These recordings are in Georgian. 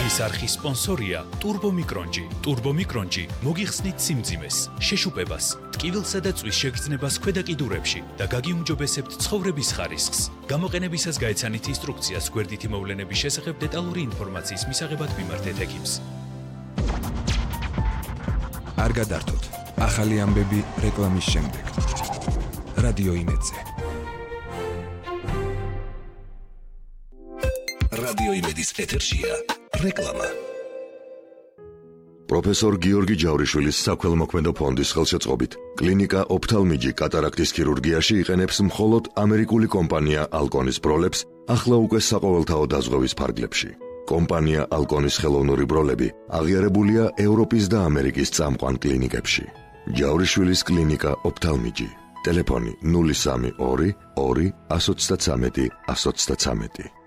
დღის არხის სპონსორია Turbo Micronji. Turbo Micronji მოგიხსნით სიმძიმეს, შეშუპებას, ტკივილსა და წვის შეგრძნებას ქვედა კიდურებში და გაგიუმჯობესებთ ცხოვრების ხარისხს. გამოყენებისას გაეცანით ინსტრუქციას გვერდითი მოვლენების შესახებ დეტალური ინფორმაციის მისაღებად მიმართეთ ექიმს. არ გადართოთ. ახალი ამბები რეკლამის შემდეგ. რადიო იმედზე. რადიო იმედის ეთერშია რეკლამა. პროფესორ გიორგი ჯავრიშვილის საქველმოქმედო ფონდის ხელშეწყობით კლინიკა ოფთალმიჯი კატარაქტის ქირურგიაში იყენებს მხოლოდ ამერიკული კომპანია ალკონის ბროლებს ახლა უკვე საყოველთაო დაზღვევის ფარგლებში. კომპანია ალკონის ხელოვნური ბროლები აღიარებულია ევროპის და ამერიკის წამყვან კლინიკებში. ჯავრიშვილის კლინიკა ოფთალმიჯი. ტელეფონი 032 2 133 133.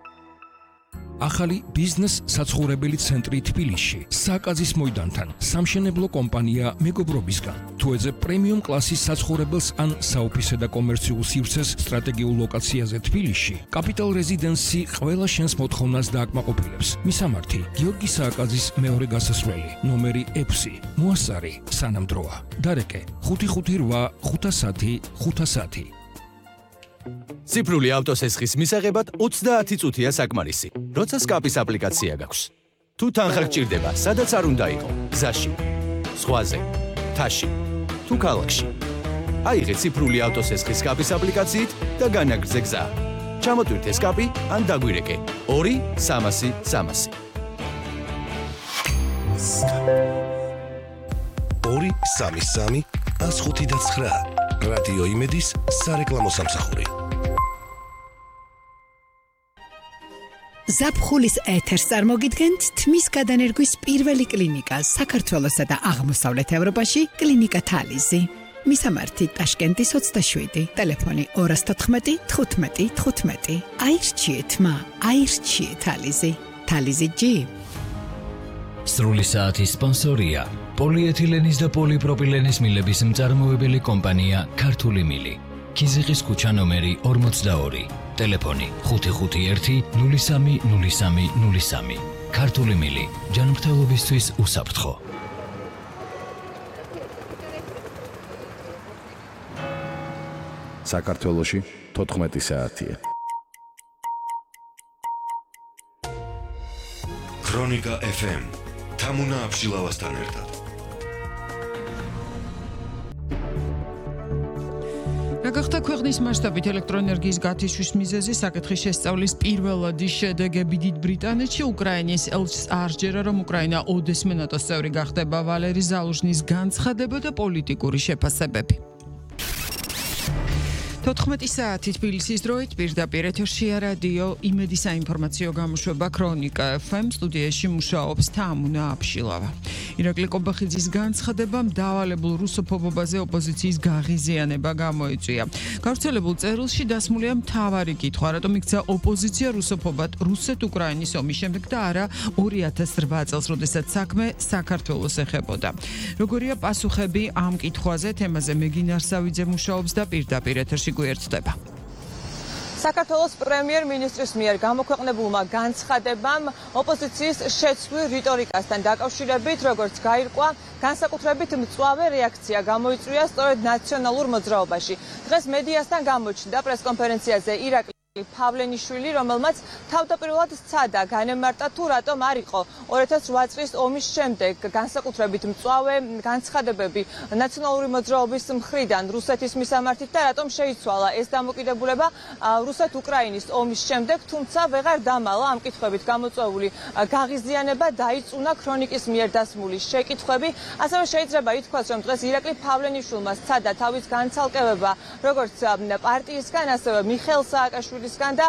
ახალი ბიზნეს საცხოვრებელი ცენტრი თბილისში, საკაზის მოედანთან, სამშენებლო კომპანია მეგობრობისგან. თუ ეძებ პრემიუმ კლასის საცხოვრებელს ან საოფისე და კომერციულ სივრცეს სტრატეგიულ ლოკაციაზე თბილისში, კაპიტალ რეზიდენსი ყველა შენს მოთხოვნას დააკმაყოფილებს. მისამართი: გიორგი სააკაძის მეორე გასასვლელი, ნომერი 6, მოასწარი, სანამდროა. დარეკე: 558 510 510. ციფრული ავტოსესხის მისაღებად 30 წუთია საკმარისი. როცა სკაპის აპლიკაცია გაქვს. თუ თანხა გჭირდება, სადაც არ უნდა იყო, გზაში, ზღვაზე, მთაში, თუ ქალაქში. აიღე ციფრული ავტოსესხის სკაპის აპლიკაციით და განაგრძე გზა. ჩამოტვირთე სკაპი ან დაგვირეკე 2-300 300. 2-3-3 105-9 რადიო იმედის სარეკლამო სამსახური. ზაფხულის ეთერს წარმოგიდგენთ თმის გადანერგვის პირველი კლინიკა საქართველოსა და აღმოსავლეთ ევროპაში კლინიკა თალიზი. მისამართი ტაშკენტის 27, ტელეფონი 214 15 15. აირჩიეთ მა, აირჩიეთ თალიზი. თალიზი G. სრული საათის სპონსორია პოლიეთილენის და პოლიპროპილენის მილების მწარმოებელი კომპანია ქართული მილი. ქიზიყის ქუჩა ნომერი 42, ტელეფონი 551 03 03 03. ქართული მილი, ჯანმრთელობისთვის უსაფრთხო. საქართველოში 14 საათია. ქრონიკა FM თამუნა აბშილავასთან ერთად. გახდა ქვეყნის მასშტაბით ელექტროენერგიის გათიშვის მიზეზი საკითხის შესწავლის პირველადი შედეგები დიდ ბრიტანეთში. უკრაინის ელჩს არჯერა, რომ უკრაინა ოდესმე ნატოს წევრი გახდება. ვალერი ზალუჟნის განცხადება და პოლიტიკური შეფასებები. 14 საათი თბილისის დროით პირდაპირ ეთერშია რადიო იმედის საინფორმაციო გამოშვება ქრონიკა FM. სტუდიაში მუშაობს თამუნა აბშილავა. ირაკლი კობახიძის განცხადებამ დავალებულ რუსოფობობაზე ოპოზიციის გაღიზიანება გამოიწვია. გავრცელებულ წერილში დასმულია მთავარი კითხვა, რატომ იქცა ოპოზიცია რუსოფობად რუსეთ-უკრაინის ომის შემდეგ და არა 2008 წელს, როდესაც საქმე საქართველოს ეხებოდა. როგორია პასუხები ამ კითხვაზე? თემაზე მეგინარ სავიძე მუშაობს და პირდაპირ ეთერში გვერდდება. საქართველოს პრემიერ-მინისტრის მიერ გამოქვეყნებულმა განცხადებამ ოპოზიციის შეცვლილ რიტორიკასთან დაკავშირებით, როგორც გაირკვა, განსაკუთრებით მწვავე რეაქცია გამოიწვია სწორედ ნაციონალურ მოძრაობაში. დღეს მედიასთან გამოჩნდა პრესკონფერენციაზე ირაკლი ფავლენიშვილი, რომელმაც თავდაპირველად სცადა განემარტა თუ რატომ არ იყო 2008 წლის ომის შემდეგ განსაკუთრებით მწვავე განცხადებები ნაციონალური მოძრაობის მხრიდან რუსეთის მისამართით და რატომ შეიცვალა ეს დამოკიდებულება რუსეთ-უკრაინის ომის შემდეგ, თუმცა ვეღარ დამალა ამ კითხვებით გამოწვეული გაღიზიანება, დაიწუნა ქრონიკის მიერ დასმული შეკითხვები. ასევე შეიძლება ითქვას, რომ დღეს ირაკლი ფავლენიშვილმა სცადა თავის განცალკევება როგორც პარტიისგან, ასევე მიხეილ სააკაშვილისგან და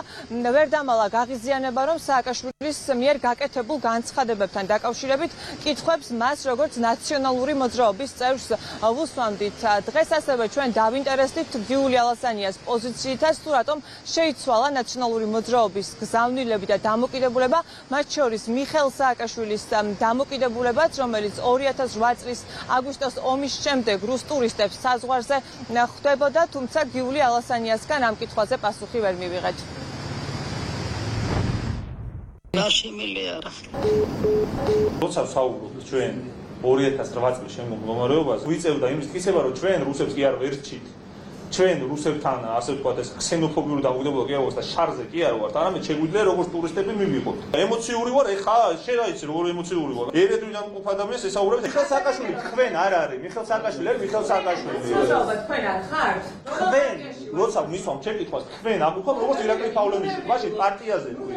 ვერ დამალა გაღიზიანება, რომ სააკაშვილის მიერ გაკეთებულ განცხადებებთან დაკავშირებით კითხვებს მას როგორც ნაციონალური მოძრაობის წევრს ვუსვამდით. დღეს ასევე ჩვენ დავინტერესდით გიული ალასანიას პოზიციითაც, თუ რატომ შეიცვალა ნაციონალური მოძრაობის გზავნილები და დამოკიდებულება, მათ შორის მიხეილ სააკაშვილის დამოკიდებულებაც, რომელიც 2008 წლის აგვისტოს ომის შემდეგ რუს ტურისტებს საზღვარზე ხვდებოდა, თუმცა გიული ალასანიასგან ამ კითხვაზე პასუხი ვერ მივიღეთ. გაშიმილი არა. როცა საუბრობთ ჩვენ 2008 წლის შემდგომ მდგომარეობაზე, ვიწევდა იმის თქმება, რომ ჩვენ რუსებს კი არ ვერჩით. ჩვენ რუსებთან ასე ვთქვათ ეს ქსენოფობიური დამოკიდებულება კი არ ვართ და შარზე კი არ ვართ, არამედ შეგვიძლია როგორც ტურისტები მივიღოთ. ემოციური ვარ, ეხა შენ რა იცი როგორ ემოციური ვარ. ერედვიდან მყოფ ადამიანს ესაუბრებს. მიხეილ სააკაშვილი თქვენ არ არის. მიხეილ სააკაშვილი არის მიხეილ სააკაშვილი. თქვენ არ ხართ? თქვენ როცა მისვამ შეკითხვას თქვენ აგუხობ როგორც ირაკლი პავლოვიჩი, მაშინ პარტიაზე თქვი.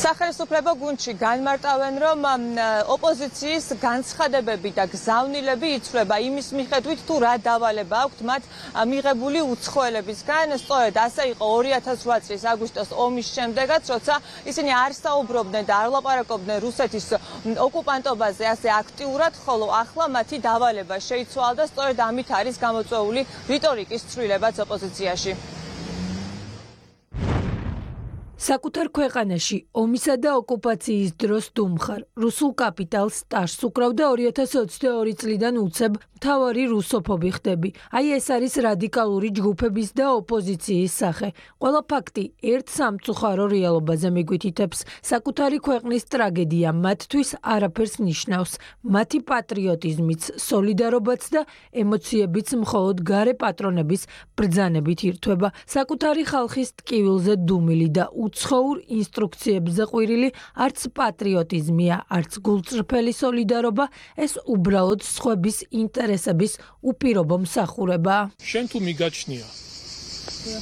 სახელმწიფო გუნდში განმარტავენ, რომ ოპოზიციის განცხადებები და გზავნილები იცვლება იმის მიხედვით, თუ რა დავალება აქვთ მათ მიღებული უცხოელებისგან. სწორედ ასე იყო 2008 წლის აგვისტოს ომის შემდეგაც, როცა ისინი არ საუბრობდნენ და არ ლაპარაკობდნენ რუსეთის ოკუპანტობაზე ასე აქტიურად, ხოლო ახლა მათი დავალება შეიცვალა და სწორედ ამით არის გამოწვეული რიტორიკის ცვლილებაც ოპოზიციაში. საკუთარ ქვეყანაში ომისა და ოკუპაციის დროს დუმხარ რუსულ კაპიტალს სტაჟს უკრავდა 2022 წლიდან უცებ მთავარი რუსოფობი ხდები. აი ეს არის რადიკალური ჯგუფების და ოპოზიციის სახე. ყველა ფაქტი ერთ სამწუხარო რეალობაზე მიგვითითებს. საკუთარი ქვეყნის ტრაგედია მათთვის არაფერს ნიშნავს. მათი პატრიოტიზმიც, სოლიდარობაც და ემოციებიც მხოლოდ გარე პატრონების ბრძანებით ირთვება. საკუთარი ხალხის ტკივილზე დუმილი და უცხოურ ინსტრუქციებზე ყვირილი არც პატრიოტიზმია, არც გულწრფელი სოლიდარობა, ეს უბრალოდ სხვების ინტერესების უპირობო მსახურება. შენ თუ მიგაჩნია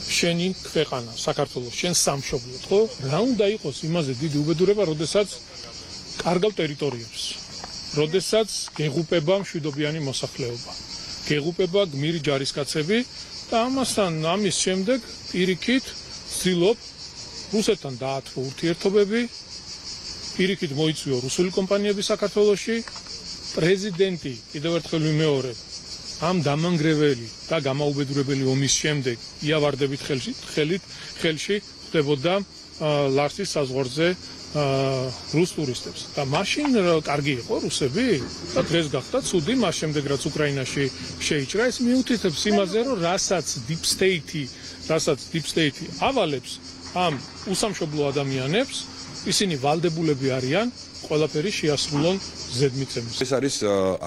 შენი ქვეყანა, საქართველოს, შენ სამშობლოდ, ხო? რა უნდა იყოს იმაზე დიდი უბედურება, როდესაც კარგავ ტერიტორიებს, როდესაც გეღუპება მშვიდობიანი მოსახლეობა, გეღუპება გმირი ჯარისკაცები და ამასთან ამის შემდეგ პირიქით ვცდილობ რუსეთთან დაათმო ურთიერთობები, პირიქით მოიწვიო რუსული კომპანიები საქართველოში, პრეზიდენტი კიდევ ერთხელ ვიმეორებ, ამ დამანგრეველი და გამაუბედურებელი ომის შემდეგ იავარდებით ხელში ხდებოდა ლარსის საზღვარზე რუს ტურისტებს. და მაშინ კარგი იყო რუსები და დღეს გახდა ცუდი, მას შემდეგ რაც უკრაინაში შეიჭრა, ეს მიუთითებს იმაზე, რომ რასაც deep state ავალებს ამ უსამშობლო ადამიანებს, ისინი ვალდებულები არიან ყველაფერი შეასრულონ ზედმიწევნით. ეს არის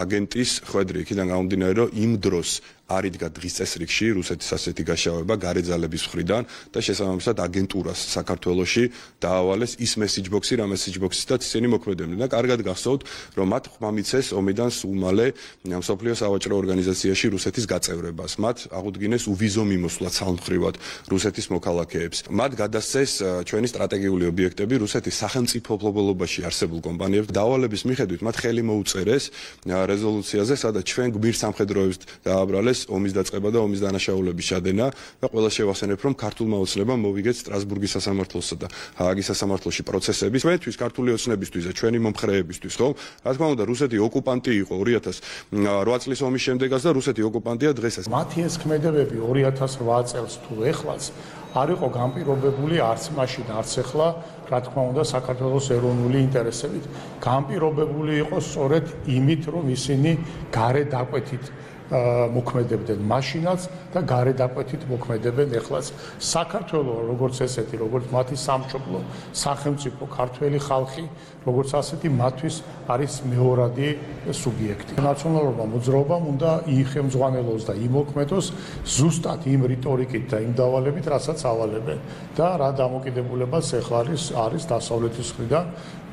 აგენტის ხვედრი, იქიდან გამომდინარე, რომ იმ დროს არ იდგა დღის წესრიგში რუსეთის ასეთი გაშავება გარეძალების მხრიდან და შესაბამისად აგენტურას საქართველოში დაავალეს ის მესიჯბოქსი, რა მესიჯბოქსისთაც ისინი მოქმედებდნენ და კარგად გახსოვთ, რომ მათ ხმამიცეს ომიდან სულ მალე მსოფლიო სავაჭრო ორგანიზაციაში რუსეთის გაწევრებას. მათ აღუდგინეს უვიზო მიმოსვლა ცალმხრივად რუსეთის მოქალაქეებს. მათ გადასცეს ჩვენი სტრატეგიული ობიექტები რუსეთის სახელმწიფოებრივობაში არსებულ კომპანიებს. დავალების მიხედვით მათ ხელი მოუწერეს რეზოლუციაზე, სადაც ჩვენ გმირ სამხედროებს დააბრალეს ომის დაწყება და ომის დანაშაულების შადენა და ყველა შევახსენებ, რომ ქართულმა ოცნებამ მოვიგეთ სტრასბურგის სასამართლოსა და ჰააგის სასამართლოში პროცესები. ჩვენთვის ქართული ოცნებისთვის და ჩვენი მომხრეებისთვის, ხო? რა თქმა უნდა, რუსეთი ოკუპანტი იყო 2008 წლის ომის შემდეგაც და რუსეთი ოკუპანტია დღესაც. მათი ეს ქმედებები 2008 წელს თუ ეხლაც არ იყო განპირობებული არც მაშინ, არც ეხლა, რა თქმა უნდა, საქართველოს ეროვნული ინტერესებით. განპირობებული იყო სწორედ იმით, რომ ისინი გარე დაკვეთით მოქმედებდნენ მაშინაც და გარე დაკვეთით მოქმედებენ ეხლაც. საქართველო როგორც ესეთი, როგორც მათი სამშობლო, სახელმწიფო, ქართველი ხალხი, როგორც ასეთი მათთვის არის მეორადი სუბიექტი. ნაციონალურმა მოძრაობამ უნდა იიხემძღვანელოს და იმოქმედოს ზუსტად იმ რიტორიკით და იმ დავალებით, რასაც ავალებენ და რა დამოკიდებულებაც ეხლა არის დასავლეთის მხრიდან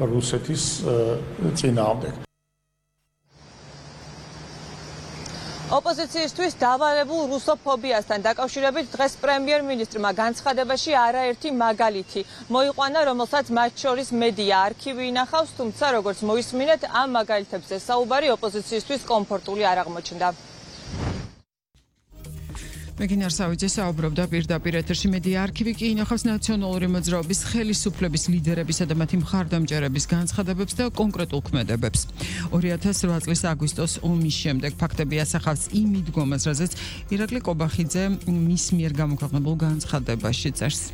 რუსეთის წინააღმდეგ. ოპოზიციისთვის დავალებულ რუსოფობიასთან დაკავშირებით დღეს პრემიერ-მინისტრმა განცხადებაში არაერთი მაგალითი მოიყვანა, რომელსაც მათ შორის მედია არქივი ინახავს, თუმცა როგორც მოისმინეთ, ამ მაგალითებზე საუბარი ოპოზიციისთვის კომფორტული არ აღმოჩნდა. მეგინარ სავიძე საუბრობდა პირდაპირ ეთერში. მედია არქივი კი ინახავს ნაციონალური მოძრაობის ხელისუფლების ლიდერებისა და მათი მხარდამჭერების განცხადებებს და კონკრეტულ ქმედებებს. 2008 წლის აგვისტოს ომის შემდეგ ფაქტები ასახავს იმ მიდგომას, რაზეც ირაკლი კობახიძე მის მიერ გამოქვეყნებულ განცხადებაში წერს.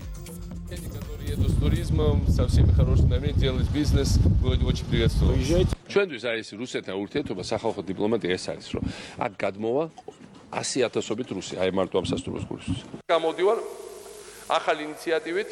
ჩვენთვის არის რუსეთთან ურთიერთობა, სახალხო დიპლომატია ეს არის, რომ აქ გადმოვა 100,000-ობით რუსი, აი მარტო ამ სასტუმროს გულისთვის. გამოდივარ ახალი ინიციატივით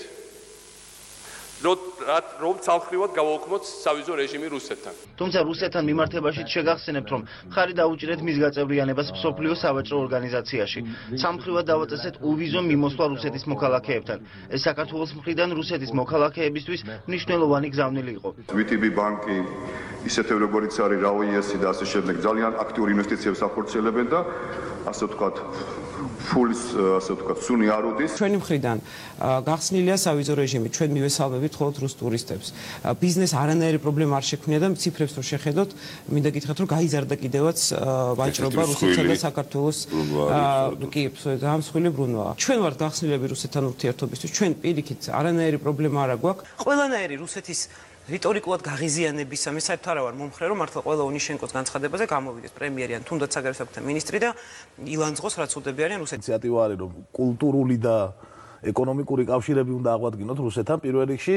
რომ ცალმხრივად გავაუქმოთ სავიზო რეჟიმი რუსეთთან. თუმცა რუსეთთან მიმართებაშიც შეგახსენებთ, რომ მხარი დაუჭირეთ მის გაწევრიანებას მსოფლიო სავაჭრო ორგანიზაციაში. ცალმხრივად დავაწესეთ უვიზო მიმოსვლა რუსეთის მოქალაქეებთან. ეს საქართველოს მხრიდან რუსეთის მოქალაქეებისთვის მნიშვნელოვანი გზავნილი იყო. VTB ბანკი ისეთები როგორიც არის RAOIS და ასე შემდეგ ძალიან აქტიურ ინვესტიციებს ახორციელებენ და ასე ვთქვათ ფულის ასე ვთქვათ სუნი არ უდის. ჩვენი მხრიდან გახსნილია სავიზო რეჟიმი, ჩვენ მივესალმებით მხოლოდ რუს ტურისტებს. ბიზნეს არანაირი პრობლემა არ შექმნია და ციფრებს რო შეხედოთ, მინდა გითხრათ რომ გაიზარდა კიდევაც ვაჭრობა რუსეთსა და საქართველოს კი, დამსხვილი ბრუნვა. ჩვენ ვართ გახსნილები რუსეთთან ურთიერთობისთვის, ჩვენ პირიქით არანაირი პრობლემა არ აქვს. ყველანაირი რუსეთის რიტორიკულად გაღიზიანებისა მე საერთოდ არა ვარ მომხრე რომ მართლა ყველა ონიშენკოს განცხადებაზე გამოვიდეს პრემიერი ან თუნდაც საგარეო საქმეთა მინისტრი და ილანძღოს რაც უდები არიან რუსეთს. ინიციატივა არის რომ კულტურული და ეკონომიკური კავშირები უნდა აღვადგინოთ რუსეთთან პირველ რიგში,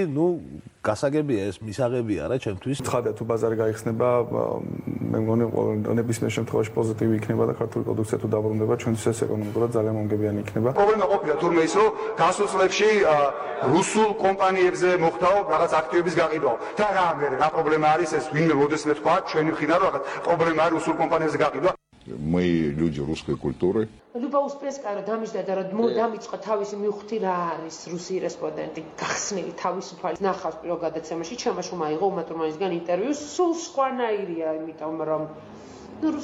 გასაგებია ეს მისაღებია რა ჩემთვის. ცხადია თუ ბაზარი გაიხსნება, მე მგონი ნებისმიერ შემთხვევაში პოზიტივი იქნება და ქართული პროდუქცია თუ დაბრუნდება, ჩვენთვის ეს ეკონომიკურად ძალიან მომგებიანი იქნება. პრობლემა ყოფილა თურმე ის რომ გასულ წლებში რუსულ კომპანიებზე მოხდაო რაღაც აქტივების გაყიდვა. და რა პრობლემა არის ეს ვინმე მოდესმე თქვა ჩვენი მხრიდან რომ რაღაც პრობლემა არის რუსულ კომპანიებზე გაყიდვა. Мы люди русской культуры. Люба Успенская დამიჯდა და დამიწყა თავისი მივხვდი რა არის რუსი რესპონდენტი გახსნილი თავისუფალი ნახავს პირველ გადაცემაში ჩემაშუმა იღო უმატურმანისგან ინტერვიუს სულ სხვანაირია იმიტომ რომ